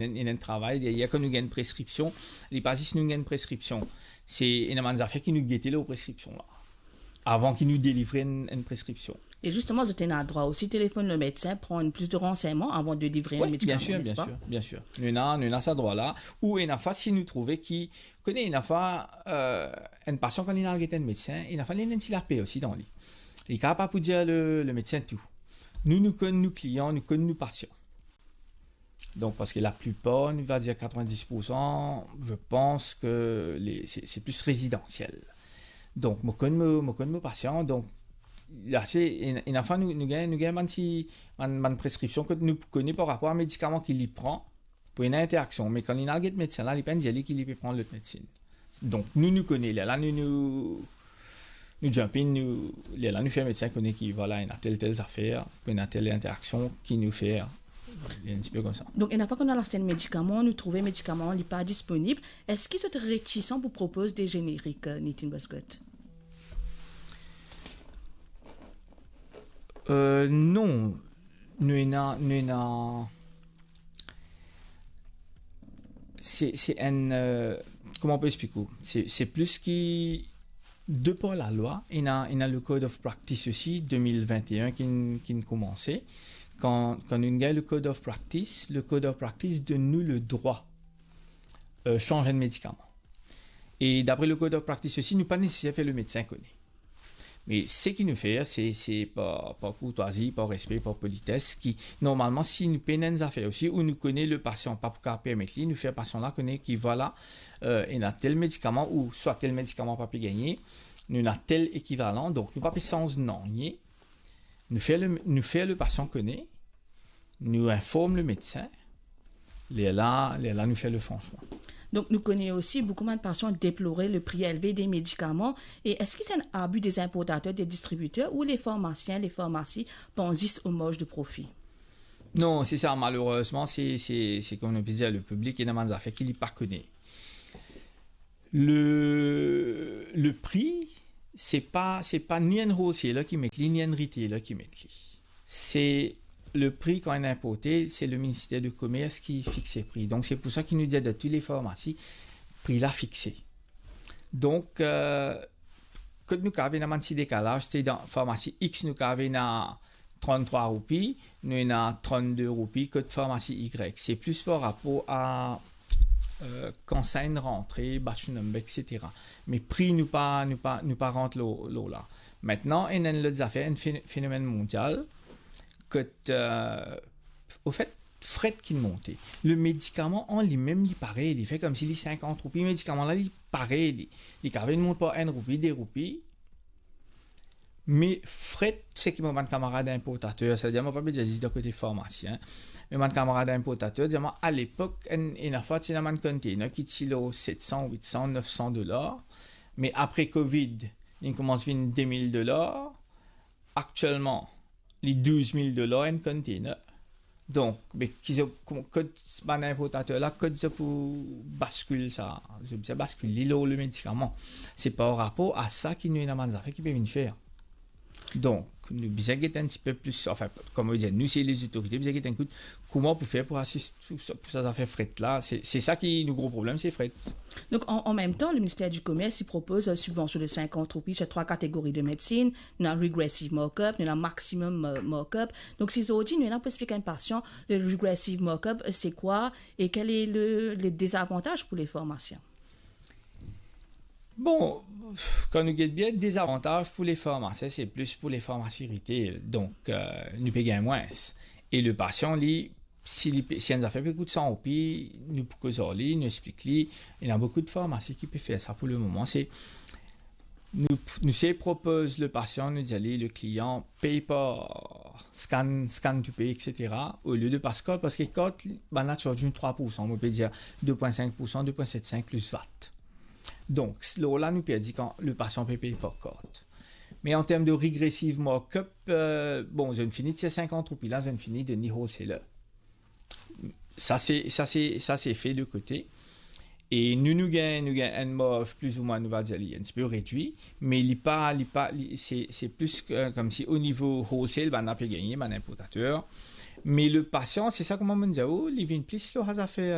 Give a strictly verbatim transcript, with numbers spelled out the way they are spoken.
Ena, ena enn travay deryer, kan nou gagn enn preskripsion, li pa zis nou gagn enn preskripsion. Se ena bann zafer ki nou gete lor preskripsion la, avan ki nou delivre enn, enn preskripsion. E zisteman, zot ena drwa osi telefonn lemedsin, pran plis de ransegnman avan de delivre enn medikaman, nespa? Wi, bien sir, bien sir, bien sir. Nou ena, nou ena sa drwa la. Ou ena fwa, si nou trouve ki, kone ena fwa, euh, enn pasian, kan li al get enn medsin, ena fwa li ena enn ti laper osi dan li. Li kapav pa pou dir le, lemedsin tou. Nou, nou konn nou klian, nou konn nou pasian. Donk, parski laplipar, nou va dir katrevin-dis poursan, je pense que les, c'est, c'est plus résidentiel. Donk, mo konn mo, mo konn mo pasian, donk, la, se, ena, ena fwa nou, nou gagn, nou gagn bann ti, bann, bann preskripsion ki nou kone par rapor a medikaman ki li pran, pou ena interaksion. Me kan li al get medsin la, li pa'nn dir li ki li pe pran lot medsin. Donk, nou, nou kone, lerla, nou, nou, nou jump in, nou, lerla, nou fer medsin kone ki, vwala, ena tel, tel zafer, ena tel interaksion ki nou fer, enn ti pe koumsa. Donk, ena fwa kan nou al aste enn medikaman, nou trouve medikaman, li pa disponib, eski zot retisan pou propoz de zenerik, euh, Nitin Boscot? Euh, non. Nou ena, nou ena, se, se enn, euh, kouma mo pou explik ou? Se, se plis ki, de par lalwa, ena, ena le Code of Practice osi, de mil vinte et un, ki'nn, ki'nn koumanse. Kan, kan nou gagn le Code of Practice, le Code of Practice donn nou le drwa, euh, sanz enn medikaman. E dapre le Code of Practice osi, nou pa neseser fer lemedsin kone. Me seki nou fer, se, se par, par kourtwazi, par respe, par polites, ki, normalman, si nou pena enn zafer osi, ou nou kone lepasian pa pou kapav permet li, nou fer pasian la kone ki, vwala, euh, ena tel medikaman, ou swa tel medikaman pa pe gagne, nou ena tel ekivalan, donk nou pa pe sanz nanye, nou fer le, nou fer lepasian kone, nou inform lemedsin, lerla, lerla nou fer lesanzman. Donk, nou kone osi boukou bann pasian deplore le pri elve de medikaman. E eski se enn abi de zenportater, de distribiter, ou le farmasien, le farmasi pans zis o marz de profi? Non, se sa, malerezman, se, se, se kouma nou pe dir, lepiblik, ena bann zafer ki li pa kone. Le, le pri, se pa, se pa ni enn wholesale ki met li, ni enn retailer ki met li. Se le pri kan inn inporte, se le Minister de Komers ki fixe pri. Donk, se pou sa ki nou dir dan tou le farmasi, pri la fixe. Donk, euh, kot nou kapav ena bann ti dekalaz, se dan farmasi X, nou kapav ena tranntrwa roupi, nou ena trannde roupi, kot farmasi Y. Se plis par rapor a, euh, kan sa inn rantre, batch number, et cetera. Me pri nou pa, nou pa, nou pa rant lor, lor la. Aster, ena enn lot zafer, enn fe-, fenomenn mondial, kot, euh, anfet, fret ki monte. Le medikaman an limem, li pare, li fer koumsi li sinkant roupi, medikaman la, li pare, li, li kapav mont par enn roupi, de roupi. Me fret, seki mo bann kamarad inportater, setadir mo pa pe dir zis dan kote farmasi, en. Me bann kamarad inportater dir mwa, alepok, enn, ena fwa, ti ena bann container ki ti lor setsan, witsan, nefsan dolar. Me apre Covid, li koumans vinn de mil dolar. Aktielman, li douz mil dolar enn container. Donk, be, ki zot, kouma, kot bann inportater la, kot zot pou baskil sa? Zot bizin baskil li lor le medikaman. Se par rapor a sa ki nou ena bann zafer ki pe vinn ser. Donk, nou bizin get enn tipe plis, anfin, kouma nou dir, nou, se lezotorite, bizin get enn kout, kouma pou fer pou asist pou sa, pou sa zafer fret la. Se, se sa ki nou gro problem, se fret. Donk, an, an mem tan, le Minister di Komers, li propoz, euh, sibvansion de sinkant roupi, se trwa kategori de medsin, nou ena regressive markup, nou ena maximum, euh, markup. Donk, si zordi nou ena pou explik enn pasian, le regressive markup, euh, se kwa e kel e le, le dezavantaz pou le farmasien? Bon, kan nou get bien, dezavantaz pou le farmasien, se plis pou le farmasi retail. Donk, euh, nou pe gagn mwins. E le pasian, li, si li pe, si enn zafer pe kout san roupi, nou pou koz ar li, nou explik li. Ena boukou de farmasi ki pe fer sa pou le moman. Se, nou, nou se propoz le pasian, nou dir li, le klian, pey par scan, scan to pay, et cetera, olie de pas kart, parski kart, bann la charge nou trwa poursan, mo pe dir de pwin sink poursan, de pwin set sink plis vat. Donk, lor la, nou perdi kan le pasian pe pey par kart. Me an term de regressive markup, euh, bon, zot inn fini tir sinkant roupi la, zot inn fini donn li wholesaler. Sa se, sa se, sa se fe de kote. E nou, nou gagn, nou gagn enn marz, plizoumwin, nou va dir, li enn tipe redwi, me li pa, li pa, li, se, se plis ke, koumsi o nivo wholesale, bann la pe gagne, bann inportater. Me le pasian, se sa kouma mo'nn dir ou, li vinn plis lor sa zafer